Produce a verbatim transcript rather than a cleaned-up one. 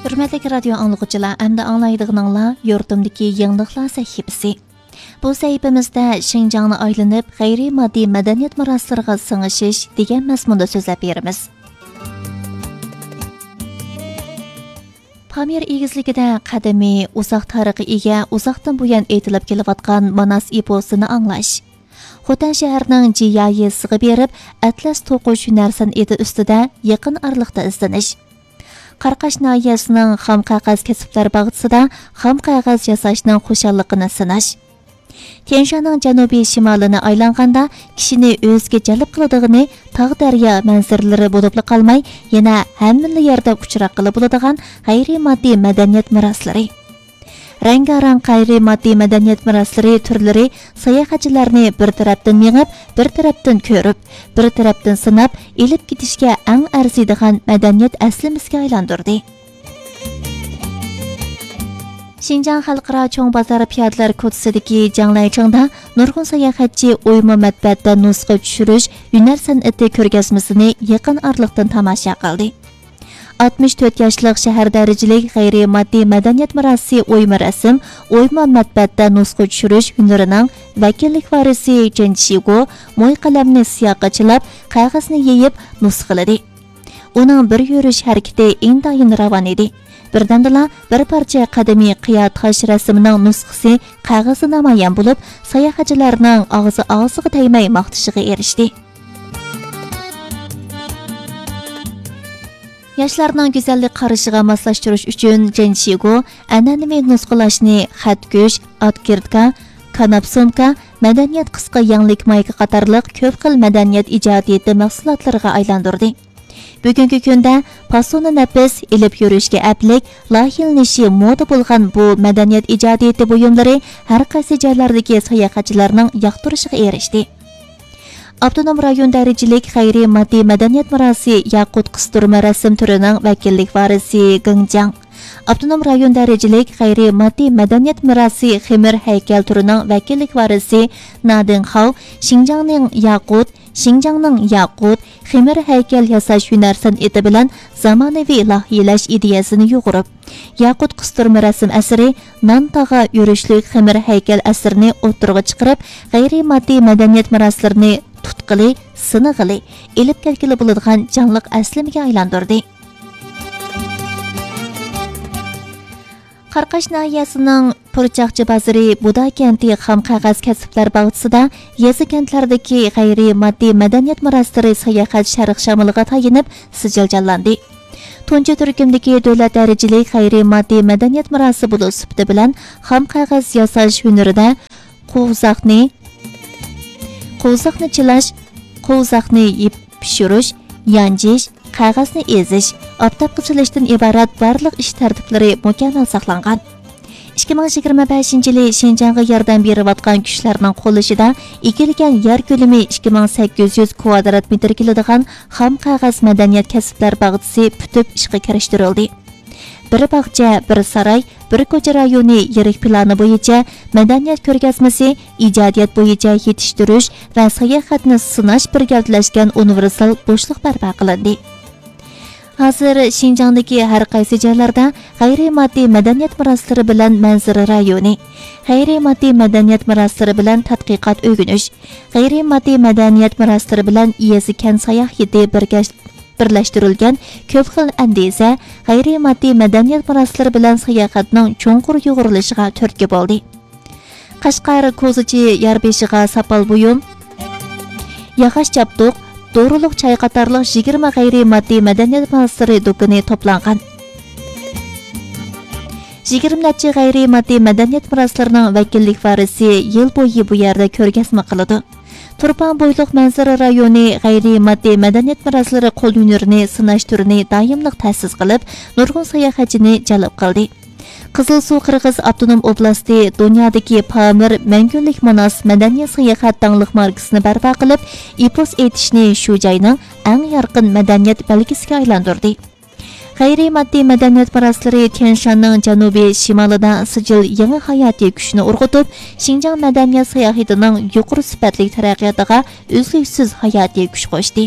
ھۆرمەتلىك رادىيو ئاڭلىغۇچىلار، ئەمدى ئاڭلايدىغىنىڭلار يۇرتۇمدىكى يېڭىلىقلار سەھىپىسى. بۇ سەھىپىمىزدە شىنجاڭنى ئايلىنىپ، غەيرىي ماددىي مەدەنىيەت مىراسلىرىغا سىڭىشىش دېگەن مەزمۇندا سۆزلەپ بېرىمىز. پامىر ئېگىزلىكىدە قەدىمىي، ئۇزاق تارىخقا ئىگە، ئۇزاقتىن بۇيان ئېيتىلىپ كېلىۋاتقان ماناس ئېپوسىنى ئاڭلاش. خوتەن شەھىرىنىڭ جىيا يېزىسىغا بېرىپ، ئەتلەس توقۇش ھۈنەر سەنئىتى ئۈستىدە يېقىن ئارىلىقتا ئىزدىنىش. قاراقاش ناھىيەسىنىڭ خام قەغەز كەسىپلەر باغچىسىدا خام قەغەز ياساشنىڭ خۇشاللىقىنى سىناش. تيەنشاننىڭ جەنۇبىي شىمالىنى ئايلانغاندا، كىشىنى ئۆزىگە جەلپ قىلىدىغىنى تاغ دەريا مەنزىرىلىرى بولۇپلا قالماي، يەنە ھەممىلا يەردە ئۇچراققىلى بولىدىغان غەيرىي ماددىي مەدەنىيەت مىراسلىرى. رەڭگارەڭ غەيرىي ماددىي مەدەنىيەت مىراسلىرى تۈرلىرى ساياھەتچىلەرنى بىر تەرەپتىن مېڭىپ، بىر تەرەپتىن كۆرۈپ، بىر تەرەپتىن سىناپ، ئېلىپ كېتىشكە ئەڭ ئەرزىيدىغان مەدەنىيەت ئەسلىمىسىگە ئايلاندۇردى. شىنجاڭ خەلقئارا چوڭ بازار پىيادىلەر كوچىسىدىكى جاڭلەيچىڭدا نۇرغۇن ساياھەتچى ئويما مەتبەئەتتە نۇسخا چۈشۈرۈش ھۈنەر سەنئىتى كۆرگەزمىسىنى يېقىن ئارىلىقتىن تاماشا قىلدى. ئاتمىش تۆت ياشلىق شەھەر دەرىجىلىك غەيرىي ماددىي مەدەنىيەت مىراسى ئويما رەسىم، ئويما مەتبەئەتتە نۇسخا چۈشۈرۈش ھۈنىرىنىڭ ۋەكىللىك ۋارىسى جېن شىگو موي قەلەمنى سىياققا چىلاپ، قەغەزنى يېيىپ نۇسخىلىدى. ئۇنىڭ بىر يۈرۈش ھەرىكىتى ئىنتايىن راۋان ئىدى. بىردەمدىلا بىر پارچە قەدىمىي قىيا تاش رەسىمىنىڭ نۇسخىسى قەغەزدە نامايان بولۇپ، ساياھەتچىلەرنىڭ ئاغزى ئاغزىغا تەگمەي ماختىشىغا ئېرىشتى. ياشلارنىڭ گۈزەللىك قارىشىغا ماسلاشتۇرۇش ئۈچۈن جېن شىگو ئەنئەنىۋى نۇسخىلاشنى خەتكۈش، ئاتكىرتكا، كاناپسونكا، مەدەنىيەت قىسقا يەڭلىك مايكا قاتارلىق كۆپ خىل مەدەنىيەت ئىجادىيىتى مەھسۇلاتلىرىغا ئايلاندۇردى. بۈگۈنكى كۈندە پاسونى نەپىس، ئېلىپ يۈرۈشكە ئەپلىك، لايىھىلىنىشى مودا بولغان بۇ مەدەنىيەت ئىجادىيىتى بۇيۇملىرى ھەر قايسى جايلاردىكى ساياھەتچىلەرنىڭ ياقتۇرۇشىغا ئېرىشتى. ئاپتونوم رايون دەرىجىلىك غەيرىي ماددىي مەدەنىيەت مىراسى ياقۇت قىستۇرما رەسىم تۈرىنىڭ ۋەكىللىك ۋارىسى گېڭ جياڭ، ئاپتونوم رايون دەرىجىلىك غەيرىي ماددىي مەدەنىيەت مىراسى خېمىر ھەيكەل تۈرىنىڭ ۋەكىللىك ۋارىسى نادىڭ خاۋ شىنجاڭنىڭ ياقۇت، شىنجاڭنىڭ ياقۇت، خېمىر ھەيكەل ياساش ھۈنەر سەنئىتى بىلەن زامانىۋى لايىھىلەش ئىدىيەسىنى يۇغۇرۇپ، ياقۇت قىستۇرما رەسىم ئەسىرى، نان تاغا يۈرۈشلۈك خېمىر ھەيكەل ئەسىرىنى ئوتتۇرىغا چىقىرىپ، غەيرىي ماددىي مەدەنىيەت مىراسلىرىنى تۇتقىلى، سىنىغىلى، ئېلىپ كەتكىلى بولىدىغان جانلىق ئەسلىمىگە ئايلاندۇردى. قاراقاش ناھىيەسىنىڭ پۇرچاقچى بازىرى بۇدا كەنتى خام قەغەز كەسىپلەر باغچىسىدا يېزا، كەنتلەردىكى غەيرىي ماددىي مەدەنىيەت مىراسلىرى ساياھەت شەرق شامىلىغا تايىنىپ سىجىل جانلاندى. تۇنجى تۈركۈمدىكى دۆلەت دەرىجىلىك غەيرىي ماددىي مەدەنىيەت مىراسى بولۇش سۈپىتى بىلەن خام قەغەز ياساش ھۈنىرىدە قوۋزاقنى، قوۋزاقنى چىلاش، قوۋزاقنى يېپىپ پىشۇرۇش، يانجىش، قەغەزنى ئېزىش، ئاپتاپقا سېلىشتىن ئىبارەت بارلىق ئىش تەرتىپلىرى مۇكەممەل ساقلانغان. ئىككى مىڭ يىگىرمە بەشىنچى يىلى شىنجاڭغا ياردەم بېرىۋاتقان كۈچلەرنىڭ قوللىشىدا ئىگىلىگەن يەر كۆلىمى ئىككى مىڭ سەككىز يۈز كۋادرات مېتىر كېلىدىغان خام قەغەز مەدەنىيەت كەسىپلەر باغچىسى پۈتۈپ ئىشقا كىرىشتۈرۈلدى. بىر باغچە، بىر ساراي، بىر كوچا رايونى يىرىك پىلانى بويىچە مەدەنىيەت كۆرگەزمىسى، ئىجادىيەت بويىچە يېتىشتۈرۈش ۋە ساياھەتنى سىناش بىر گەۋدىلەشكەن ئۇنىۋېرسال بوشلۇق بەرپا قىلىندى. ھازىر شىنجاڭدىكى ھەر قايسى جايلاردا غەيرىي ماددىي مەدەنىيەت مىراسلىرى بىلەن مەنزىرە رايونى، غەيرىي ماددىي مەدەنىيەت مىراسلىرى بىلەن تەتقىقات ئۆگىنىش، غەيرىي ماددىي مەدەنىيەت مىراسلىرى بىلەن يېزا، كەنت ساياھىتى بىرگەش-، بىرلەشتۈرۈلگەن كۆپ خىل ئەندىزە، غەيرىي ماددىي مەدەنىيەت مىراسلىرى بىلەن ساياھەتنىڭ چوڭقۇر يۇغۇرۇلۇشىغا تۈرتكە بولدى. قەشقەر كوزىچى يار بېشىغا ساپال بۇيۇم، ياغاچ چاپتۇق، دورىلىق چاي قاتارلىق يىگىرمە غەيرىي ماددىي مەدەنىيەت مىراسلىرى دۇكىنى توپلانغان. يىگىرمە نەچچە غەيرىي ماددىي مەدەنىيەت مىراسلىرىنىڭ ۋەكىللىك ۋارىسى يىل بويى بۇ يەردە كۆرگەزمە قىلىدۇ. تۇرپان بويلۇق مەنزىرە رايونى غەيرىي ماددىي مەدەنىيەت مىراسلىرى قول ھۈنىرىنى سىناش تۈرىنى دائىملىق تەسىس قىلىپ، نۇرغۇن ساياھەتچىنى جەلپ قىلدى. قىزىلسۇ قىرغىز ئاپتونوم ئوبلاستى دۇنيادىكى پامىر مەڭگۈلۈك ماناس مەدەنىي ساياھەت داڭلىق ماركىسىنى بەرپا قىلىپ، ئېپوس ئېيتىشنى شۇ جاينىڭ ئەڭ يارقىن مەدەنىيەت بەلگىسىگە ئايلاندۇردى. غەيرىي ماددىي مەدەنىيەت مىراسلىرى تيەنشاننىڭ جەنۇبىي شىمالىدا سىجىل يېڭى ھاياتىي كۈچىنى ئۇرغۇتۇپ، شىنجاڭ مەدەنىيەت ساياھىتىنىڭ يۇقىرى سۈپەتلىك تەرەققىياتىغا ئۈزلۈكسىز ھاياتىي كۈچ قوشتى.